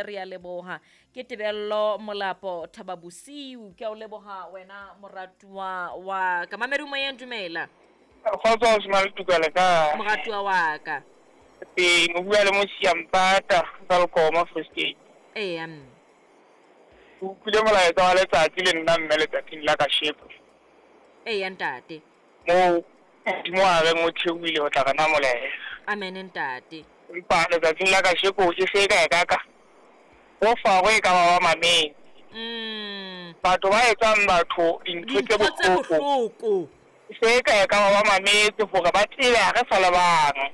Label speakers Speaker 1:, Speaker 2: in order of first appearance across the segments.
Speaker 1: Re a leboha. Ke Tebello Molapo Thaba Bosiu. Ke a o leboha wena moratuwa wa ka. Mamedi moyeng dumela.
Speaker 2: Kgotso o sena le tukele ka.
Speaker 1: Moratuwa wa ka.
Speaker 2: Teng o bua le Mosia Mpata Welkom Free State.
Speaker 1: Eya mme.
Speaker 2: Ke utlwile molaetsa wa letsatsi le nna mme letsatsing la kasheko.
Speaker 1: Eya ntate.
Speaker 2: Moo Modimo a reng o theohile ho tla re namolela.
Speaker 1: Amen ntate.
Speaker 2: Empa letsatsing la kasheko e se e ka e ka ka bo Faro e ka ba ba mametse. Batho ba etsang batho dintho tse bohloko. E se e ka e ka ba ba mametse hore ba tsebe ha re sa le bang.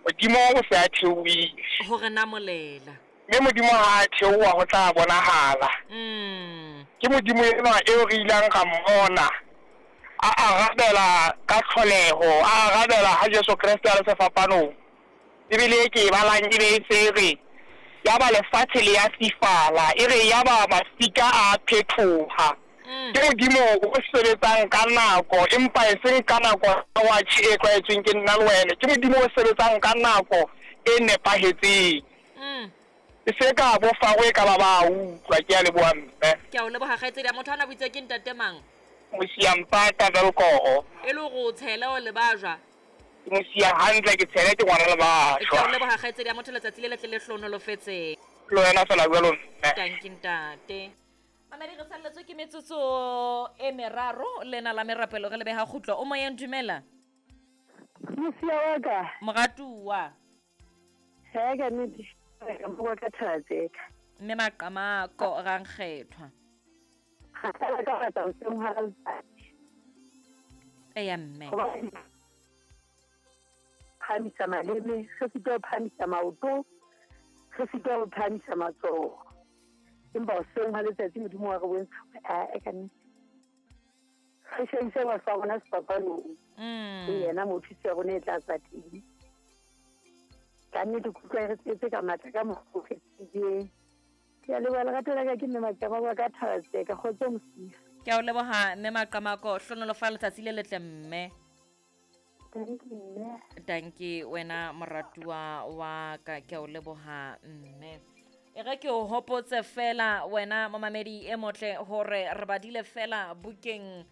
Speaker 2: Modimo o se a theohile.
Speaker 1: Ho re namolela.
Speaker 2: Mme Modimo ha a theoha ho tla bonahala. Ke Modimo enwa eo re ilang ra mmona a arabela ka tlholeho, a arabela ha Jesu Kreste a le sefapanong. Bibele e ke e balang e be e se re, Yaba lefatshe le ya fifala, e re yaba mafika a phethoha. Ke Modimo o sebetsang ka nako, empa eseng ka nako ya watjhe e tlwaetsweng ke nna le wena. Ke Modimo o sebetsang ka nako e nepahetseng. E se ka bo Faro e ka ba ba utlwa. Ke a leboha mme.
Speaker 1: Ke a o leboha kgaitsedi ya motho ana o itse ke ntate mang?
Speaker 2: Mosia Mpata Velkoro.
Speaker 1: E le hore o tshele o lebajwa.
Speaker 2: Ke mosia hantle ke tshele ke ngwana lebajwa.
Speaker 1: Ke a o leboha kgaitsedi ya motho letsatsi le letle le hlohonolofetseng.
Speaker 2: Le wena fela jwalo mme.
Speaker 1: Tanki ntate. Mamedi re salletswe ke metsotso e meraro lena la merapelo re lebeha kgutlo. O moyeng dumela.
Speaker 3: Mosia wa ka.
Speaker 1: Moratuwa.
Speaker 3: He ka nnete ka bua ka thaba tseka.
Speaker 1: Mme Maqamako Rankgethwa.
Speaker 3: Ga sala ka batla hoseng hwa letsatsi.
Speaker 1: Eya mme.
Speaker 3: Hobane phahamisa maleme, re sitwa ho phahamisa maoto, re sitwa ho phahamisa matsoho. Empa hoseng hwa letsatsi Modimo wa re bontsha hore ae ka nnete. Re hlahise mahlo a rona sefapanong. Ke yena moo thuso ya rona e tla tswa teng. Ka nnete ke utlwa e re tletse ka matla ka mokgwa o kgethehileng. Ke a leboha lerato la ka ke mme Maqamako wa ka Thaba-Tseka. Kgotso Mosia.
Speaker 1: Ke a o leboha mme Maqamako. Hlohonolofala letsatsi le letle mme.
Speaker 3: Dankie mme.
Speaker 1: Dankie wena moratuwa wa ka. Ke a o leboha mme. E re ke o hopotse fela wena momamedi e motle hore re badile fela bukeng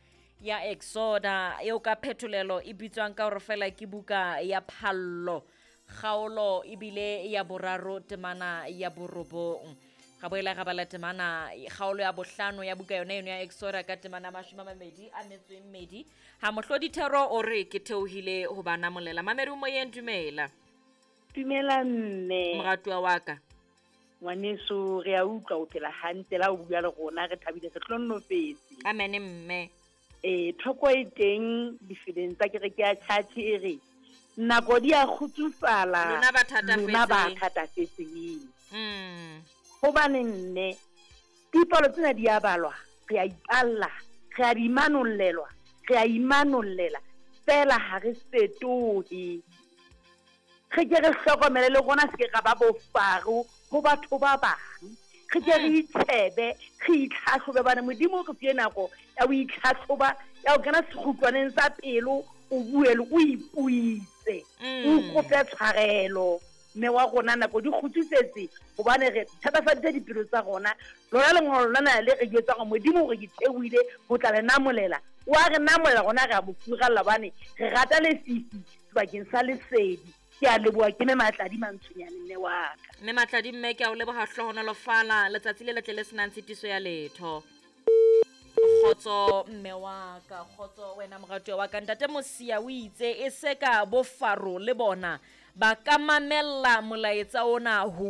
Speaker 1: ya Exoda eo ka phetolelo e bitswang ka hore fela ke buka ya phallo. Kgaolo ebile ya boraro temana ya borobong. Ga boela ga bala temana kgaolo ya bohlano ya buka yona eno ya Exoda ka temana 22. Ha mohlodi thero o re ke theohile ho ba namolela. Mamedi o moyeng dumela.
Speaker 4: Dumela mme.
Speaker 1: Moratuwa wa ka.
Speaker 4: Ngwaneso re a utlwa o phela hantle la o bua le rona re thabile re hlonnofetse.
Speaker 1: Amen mme.
Speaker 4: Thoko e teng difeleng tsa kereke ya church e re nako di a kgutsufala
Speaker 1: lona ba
Speaker 4: lona ba thatafetseng. Hobane nne dipalo tsena di a balwa, re a ipalla, re a di manollelwa, re a imanollela fela ha re fetohe. Re ke re hlokomele le rona se ke ra ba bofaro ho batho ba bang. Re ke re itshebe, re itlhahlobe bana Modimo re file nako ya ho itlhahloba, ya ho kena sekgutlwaneng sa pelo, o bue le o ipuise, o kope tshwarelo. Mme wa rona nako di kgutsufetse hobane re thatafaditse dipelo tsa rona. Lona lengolo lona le re jwetsa hore Modimo o re ke theohile ho tla le namolela. O a re namolela rona re a mo furalla hobane re rata lefifi sebakeng sa lesedi. Ke a leboha ke mme Matladi Mantshonyane mme wa ka.
Speaker 1: Mme Matladi mme ke a o leboha hlohonolofala letsatsi le letle le senang tshitiso ya letho. Kgotso mme wa ka, kgotso wena moratuwa wa ka. Ntate Mosia o itse e se ka bo Faro le bona ba ka mamella molaetsa ona ho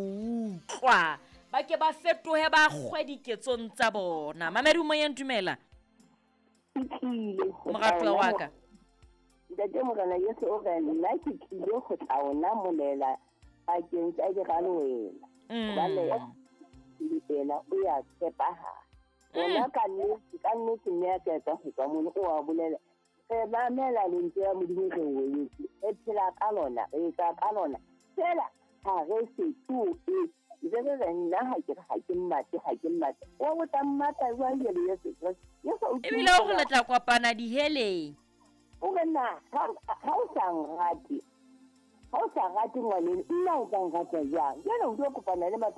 Speaker 1: utlwa. Ba ke ba fetohe ba kgwe diketsong tsa bona. Mamedi o moyeng dumela. Moratuwa wa ka.
Speaker 5: Ntate Morena Jesu o re nna ke tlile ho tla o namolela bakeng tsa diralwela. Hobane yena o ya tshepahala. Ona ka nnete mme a ka etsa ho tswa mono o a bolela. Re mamela lentswe la Modimo re o etse. Re phela ka lona, re etsa ka lona. Fela ha re fetohe. Ntse re re nna ha ke re ha ke mmate, ha ke mmate. Wa o tla mmata jwang jwale Jesu Kreste? Jesu o
Speaker 1: Ebile o re le tla kopana diheleng.
Speaker 5: O re na ha o sa nrate, ha o sa rate ngwaneno, nna o tla nrata jwang? Jwale o tlo kopana le mathata.